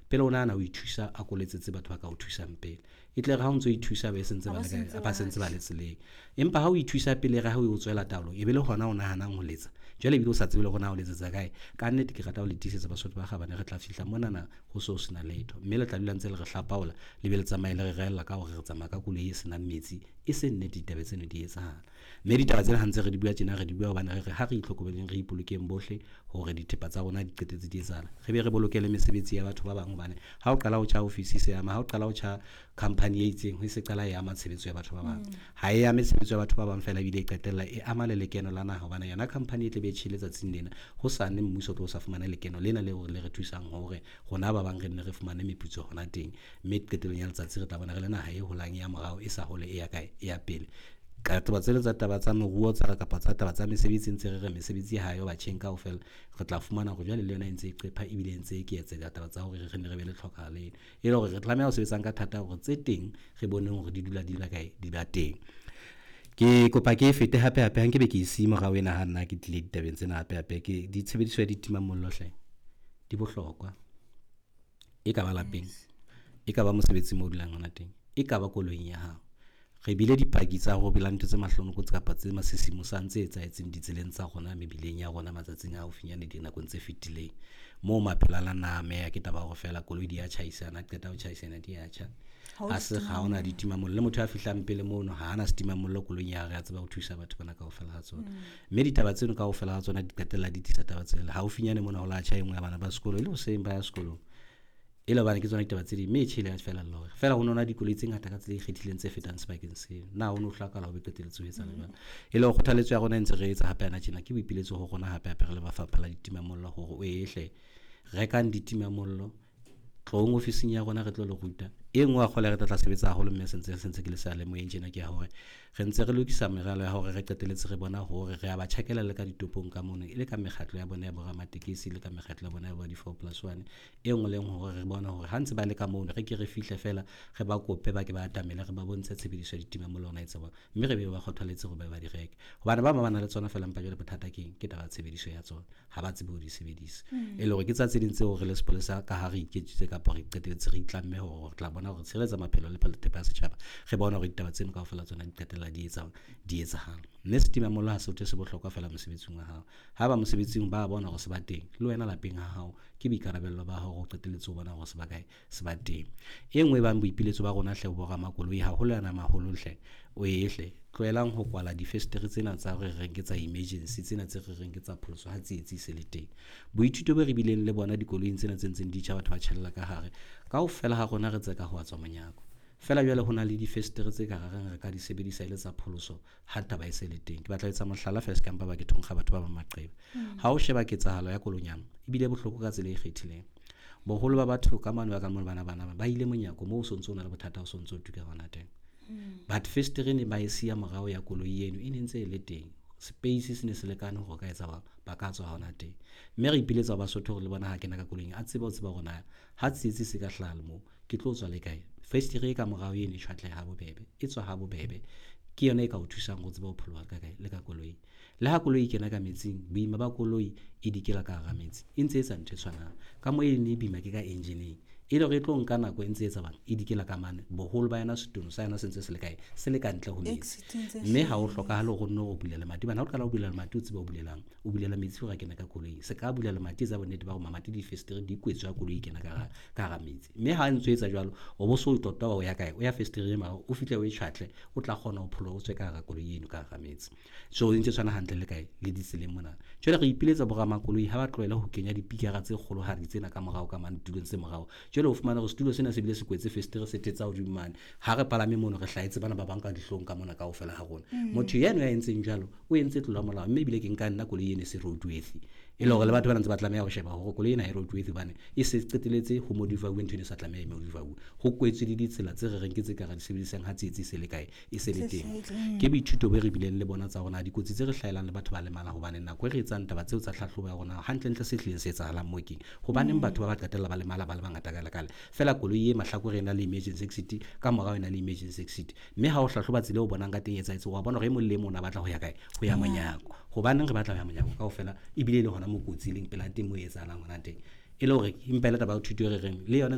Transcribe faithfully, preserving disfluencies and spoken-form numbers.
Pele o nahana ho ithusa, a ko letsetse batho ba ka o thusang pele. E tle re ha o ntso ithusa ba sentse ba le ba sentse ba le tseleng. Empa ha o ithusa pele re ha o tswela taolong, e be le hona o nahanang ho letsa. Jwale ebile o sa tsebe le hore na o letsetsa kae. Ka nnete ke rata ho le tiisetsa Basotho ba Kgabane, re tla fihla monana ho so sena letho. Mme le tla dula ntse le re hlapaola, le be le tsamaye le re reella ka hore re tsamaya ka koloi e senang metsi. E se nnete ditaba tseno di etsahala. Mme ditaba tsena ha ntse re di bua tjena, re di bua hobane re re ha re itlhokomeleng, re ipolokeng bohle hore dithepa tsa rona di qetetse di etsahala. Re be re boloke le mesebetsi ya batho ba bang hobane ha o qala ho tjha ofisi se ama, ha o qala ho tjha company e itseng, ho se qala e ama tshebetso ya batho ba bang. Ha e ame tshebetso ya batho ba bang feela, ebile e qetella e ama le lekeno la naha hobane yona company e tle be tjhele tsatsing lena, hosane mmuso o tlo sa fumane lekeno lena leo le re thusang hore rona ba bang re nne re fumane meputso hona teng. Mme qetellong ya letsatsi re tla bona re le naha e holang ya morao, e sa hole e ya kae, e ya pele. Ka taba tsena tsa taba tsa moruo tsa kapa tsa taba tsa mesebetsi, ntse re re mesebetsi ha yo batjheng kaofela, re tla fumana hore jwale le yona e ntse e qepha ebile e ntse e eketseha taba tsa hore re nne re be le tlhokahalo eno. E le hore re tlameha ho sebetsang ka thata hore tse teng re boneng hore di dula di la kae, di ba teng. Ke kopa ke e fete hape hape, ha nkebe ke e siye morao ena ha nna ke tlile ditabeng tsena hape hape. Ke ditshebediso ya ditimamollo hle, di bohlokwa. E ka ba lapeng, e ka ba mosebetsing moo o dulang hona teng, e ka ba koloing ya hao. Re bile dipaki tsa ho bela ntho tse mahlonoko kapa tse masisimosang tse etsahetseng ditseleng tsa rona mebileng ya rona matsatsing a haufinyane dinakong tse fetileng. Moo maphelo a la na ameha ke taba ya hore feela koloi di ya tjhaisana, qeta ho tjhaisana di ya tjha. Ha se ha hona ditimamollo, le motho ya fihlang pele mono ha ana setimamollo koloing ya hae, a tseba ho thusa batho bana kaofela ha tsona. Mme ditaba tseno kaofela ha tsona di qetella di tlisa taba tsena. Haufinyane mona ho la tjha e nngwe ya bana ba sekolo, e le hoseng ba ya sekolong. E le hobane ke tsona ditaba tse ding, mme e tjhele ya fela lore. Feela ho nona dikoloi tse ngata ka tsela e ikgethileng tse fetang sebakeng seo. Na ho no hlokahala ho be qetelletse ho etsahala jwalo. E le hore kgothaletso ya rona e ntse re etsa hape hana tjena, ke boipiletso ho rona hape hape re le lefapha la ditimamollo hore o ehle rekang ditimamollo, tlohong ofising ya rona re tlo le ruta. E nngwe wa kgole re tla tla sebetsa haholo mme sentse sentse ke le seyalemoyeng tjena ke ya hore re ntse re lokisa meralo ya hore re qetelletse re bona hore re a ba tjhakela le ka ditopong ka mono, e le ka mekgatlo ya bona ya boramatekesi, le ka mekgatlo ya bona ya bo di-four plus one. E nngwe le nngwe hore re bone hore ha ntse ba le ka mono, re ke re fihle feela re ba kope ba ke ba atamele, re ba bontshe tshebediso ya ditimamollo hore na e tseba, mme re be ba kgothaletse hore ba ba di reke. Hobane ba bang ba na le tsona feela, empa jwale bothata ke eng? Ke taba ya tshebediso ya tsona, ha ba tsebe ho di sebedisa. E le hore ke tsa tse ding tseo re le sepolesa ka ha re iketsitse kapa re qetelletse re itlamme hore re tla bona hore tshireletsa maphelo le thepa ya setjhaba, re bone hore ditaba tseno kaofela tsona di qetella di etsa di etsahala. Mme setimamollo ha se se bohlokwa feela mosebetsing wa hao. Ha ba mosebetsing ba bona hore se ba teng, le wena lapeng ha hao ke boikarabello ba hao hore o qetelletse o bona hore se ba kae, se ba teng. E nngwe e bang boipiletso ba rona hle bo ramakoloi haholo yana maholo hle, o ehle tlohelang ho kwala difestere tsena tsa re reng ke tsa emergency, tsena tse re reng ke tsa pholoso ha tsietsi e se le teng. Boithuto bo re bileng le bona dikoloing tsena tse ntseng di tjha, batho ba tjhella ka hare, kaofela ha rona re tseka ho tswa monyako. Feela jwale ho na le difestere tse ka reng re ka di sebedisa e le tsa pholoso ha taba e se le teng. Ke batla ho etsa mohlala feela, se ka mpa ba ke thonkga batho ba bang maqeba. Ha o sheba ketsahalo ya Kolonyama, ebile bohloko ka tsela e ikgethileng. Boholo ba batho ka mane ba ka mona bana bana ba ile monyako moo o sontso o na le bothata, o sontso o tuka hona teng. But festere ne ba e siya morao ya koloi eno e ne ntse e le teng. Space se ne se lekane hore ka etsa ba ba ka tswa hona teng. Mme re ipiletsa ho Basotho hore le bona ha kena ka koloing a tsebe ho tseba hore na ha tsietsi se ka hlaha le moo ke tlo tswa le kae. Festere e ka morao eno e tjhwatleha ha bobebe, e tswa ha bobebe. Ke yona e ka o thusang ho tseba ho pholoha ka kae le ka koloing. Le ha koloi e kena ka metsing, boima ba koloi e dikela ka hara metsi, e ntse etsa ntho e tshwanang. Ka moo e ne e boima ke ka engine-eng, e le hore e tlo nka nako e ntse etsa bang e dikela ka mane. Boholo ba yona setono sa yona se ntse se le kae, se le ka ntle ho metsi. Mme ha ho hlokahale hore o nno o bula lemati, hobane ha o qala ho bula lemati o tsebe o bulelang, o bulela metsi hore a kene ka koloing. Se ka bula lemati, etsa bonnete ba hore mamati le difestere di kwetswe ha koloi e kena ka hara ka hara metsi. Mme ha ntso etsa jwalo, o bo so tota o ya kae, o ya festereng mara o fihle o e tjhwatle, o tla kgona ho pholoha o tswe ka hara koloi eno ka hara metsi. So e ntse tshwana hantle le kae, le ditseleng mona. Jwale re ipiletsa boramakoloi ha ba tlohele ho kenya dipikara tse kgolohadi tsena ka morao ka mane tulong tse morao. Jwale o fumana hore setulo sena se bile se kwetse festere se thetsa hodimo mane. Ha re palame mono re hlahetse bana ba bang ka dihlong ka mona kaofela ha rona. Motho yeno ya entseng jwalo o entse tlolo ya molao, mme ebile ke nka nna koloi eno e se roadworthy. E le hore le batho ba ntse ba tlameha ho sheba hore koloi ena ha e roadworthy hobane e se qetelletse ho modify-uwe ntho eno e sa tlameha e modify-uwe. Ho kwetswe le ditsela tse re reng ke tse ka re di sebedisang ha tsietsi e se le kae, e se le teng. Ke boithuto bo re bileng le bona tsa rona dikotsi tse re hlahelang le batho ba lemala, hobane nako e re etsang taba tseo tsa tlhahlobo ya rona hantlentle se hlileng se etsahalang moo keng. Hobaneng batho ba ba qetella ba lemala ba le bangata ka lekale, feela koloi e mahlakore e na le emergency exit, ka morao e na le emergency exit. Mme ha o hlahloba tsela eo o bonang ka teng e etsahetse, wa bona hore e mong le e mong o batla ho ya kae, ho ya monyako. Hobaneng re batla ho ya monyako kaofela, ebile le hona mo kotsi e leng pela teng moo e etsahalang hona teng. E le hore empa e le taba ya thuto e re reng le yona.